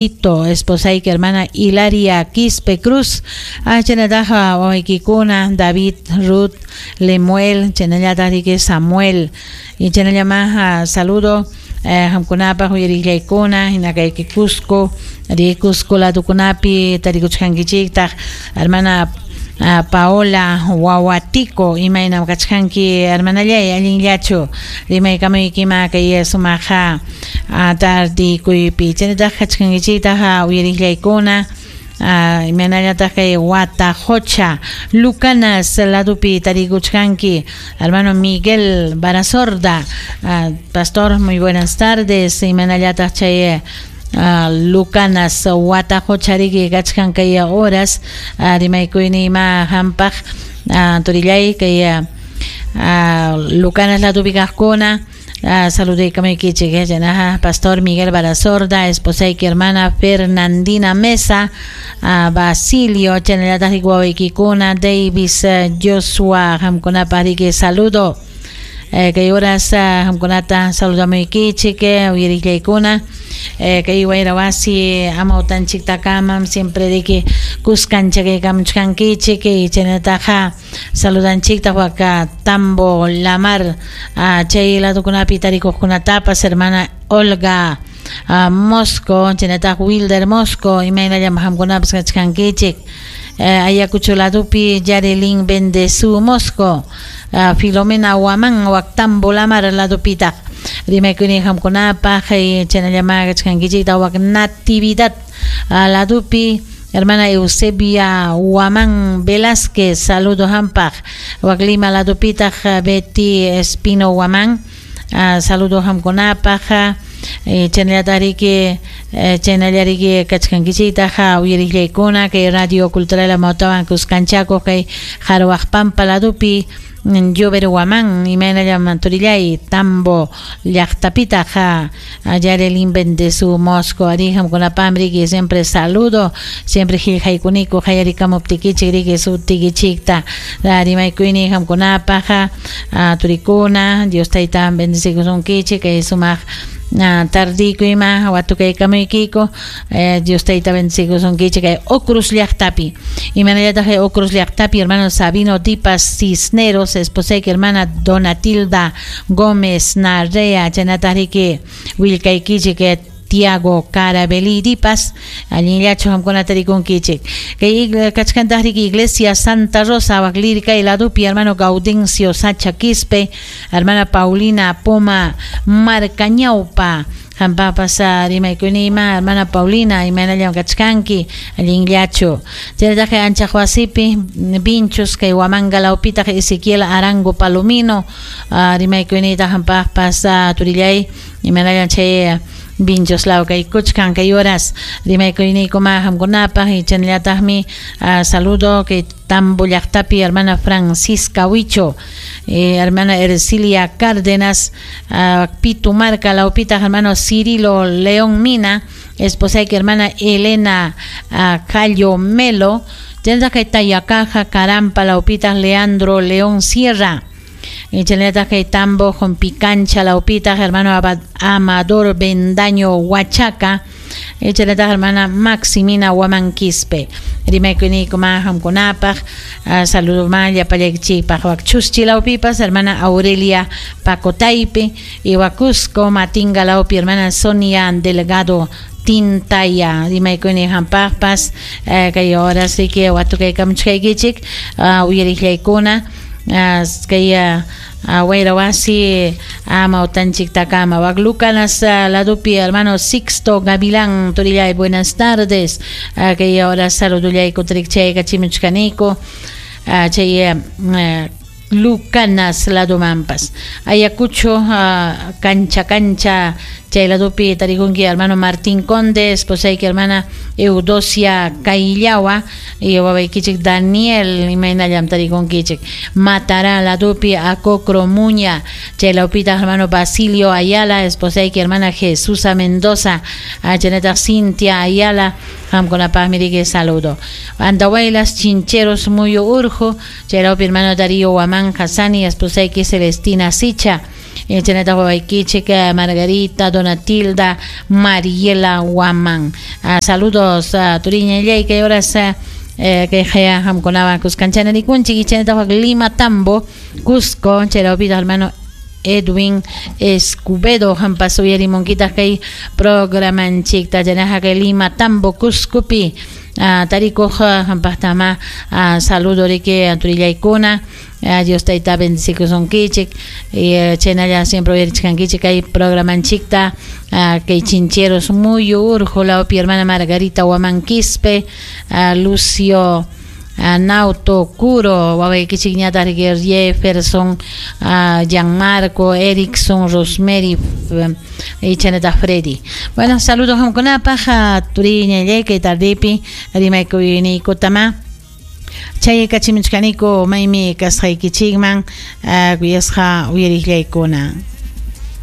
Esposayki hermana Hilaria Quispe Cruz, chaynataqa wawaykikuna David, Ruth, Lemuel, chaynallataq Samuel, y chaynallama saludo qamkunapaq uyariqllaykuna hina kayki Cusco, Cusco ladukunapi tarikuchkankichiktaq hermana Paola Wawatico, imaynam kachkanki hermanallay allinllachu rimaykamuykima kay sumaqa tardikuypi chaynataq kachkankichiktaq uyariqllaykuna imaynallataq kay Watajocha Lucanas ladupi tarikuchkanki hermano Miguel Barasorda, pastor, muy buenas tardes, imaynallataq chay Lucanas Watajocha riki kachkan kay horas rimaykuyni ima hampaq turillay kay Lucanas ladupi kaqkuna saludaykamaykichik chaynaqa pastor Miguel Barasorda, esposayki hermana Fernandina Mesa, Basilio, chaynallataq wawaykikuna Davis, Joshua, qamkunapaq riki saludo. Kay horas qamkunata saludamuykichik uyariqllaykuna kay wayra wasi amawtanchiktakamam siempre riki kuskanchik kaykamuchkankichik chaynataqa saludanchiktaq waka Tambo Lamar chay ladukunapi tarikuqkunatapas hermana Olga Mosco, chaynataq Wilder Mosco, imaynallam qamkunapas kachkankichik. Ayacucho ladupi Yarelin Bendezu Mosco, Filomena Huamán wak Tambo Lamar ladupitaq rimaykuni qamkunapaq chaynallama kachkankichikta wak Natividad ladupi hermana Eusebia Huamán Velázquez, saludo hampaq wak Lima ladupitaq Betty Espino Huamán, saludo qamkunapaq chaynallataq chaynallariki kachkankichiktaq uyariqllaykuna kay Radio Cultural Amawtawan kuskanchakuq kay Jarwaqpampa ladupi Llover Huamán, imaynallam turillay Tambo llaqtapitaq Yarelin Bendezu Mosco, ari qamkunapaqmi riki siempre saludo, siempre qillqaykuniku qayarikamuptikichik riki sutikichikta rimaykuyni qamkunapaq turikuna, Dios tayta bendecikusunkichik kay sumaq tardikuyma watukaykamuykiku Dios tayta bendecikusunkichik kay Ocruz llaqtapi, imaynallataq kay Ocruz llaqtapi hermano Sabino Dipas Cisneros, esposayki hermana Donatilda Gómez Narrea, chaynataq riki willkaykichik Tiago Carabelli Dipas, allinllachu qamkuna tarikunkichik kay kachkantaq riki Iglesia Santa Rosa wak Lircay ladupi hermano Gaudencio Sacha Quispe, hermana Paulina Poma Marcañaupa, qampapas rimaykunima hermana Paulina imaynallam kachkanki allinllachu chaynataq anchaq wasipi Vinchos kay Huamanga lawpitaq Ezequiel Arango Palomino rimaykunita qampaqpas turillay imaynallam chay Vinchos law kaykuchkan kay horas rimaykuyniykuma qamkunapaq y chaynallataqmi saludo kay Tambo llaqtapi hermana Francisca Huicho, hermana Ercilia Cárdenas, Pitumarca lawpitaq hermano Cirilo León Mina, esposayki hermana Elena Cayo Melo, chaynataq kay Tayacaja Carampa lawpitaq Leandro León Sierra, chaynallataq kay Tambo Jompicancha lawpitaq hermano Amador Bendaño Huachaca, chaynataq hermana Maximina Huamán Quispe, rimaykuniykuma qamkunapaq saludo ma llapallaykichikpaq wak Chuschi lawpipas hermana Aurelia Pacotaype y wak Cusco Matinga lawpi hermana Sonia Delgado Tintaya, rimaykuni qampaqpas kay horas riki watukaykamuchkaykichik uyariqllaykuna kay wayra wasi amawtanchiktakama wak Lucanas ladupi hermano Sixto Gavilán turillay buenas tardes kay horas saludullayku trikchaykachimuchkaniku chay Lucanas ladumanpas Ayacucho cancha cancha chay ladupi tarikunki hermano Martín Conde, esposayki hermana Eudosia Kaillawa y wawaykichik Daniel imaynallam tarikunkichik Matará ladupi Acocro Muña chay lawpitaq hermano Basilio Ayala, esposayki hermana Jesusa Mendoza, chaynataq Cintia Ayala qamkunapaqmi riki saludo Andahuaylas Chincheros Muyo Urjo chay lawpi hermano Darío Huamán Hassani, esposayki Celestina Sicha. Chaynataq wawaykichik Margarita, Donatilda, Mariela Waman. Saludos turiñallay kay horas kay haya qamkunawan kuskanchana rikunchik. Chaynataq Lima Tambo, Cusco, chaylawpitaq hermano Edwin Escubedo hampas uyarimunkitaq kay programanchikta. Chaynaqa kay Lima Tambo Cuscopi tarikuq hampaqtama saludo riki turillaykuna. Dios tayta bendecikusunkichik chaynalla siempre uyarichkankichik kay programanchikta. Kay Chincheros Muyu Urqu lawpi hermana Margarita Huamán Quispe, Lucio Nauto Curo, wawaykichikñataq Jefferson, Gianmarco, Erickson, Rosemary y chaynataq Freddy. Bueno, saludos qamkunapaq turiñallay kay tardepi rimaykuyniykutamá chayaykachimuchkaniku maymi kasqaykichikman kuyasqa uyariqllaykuna.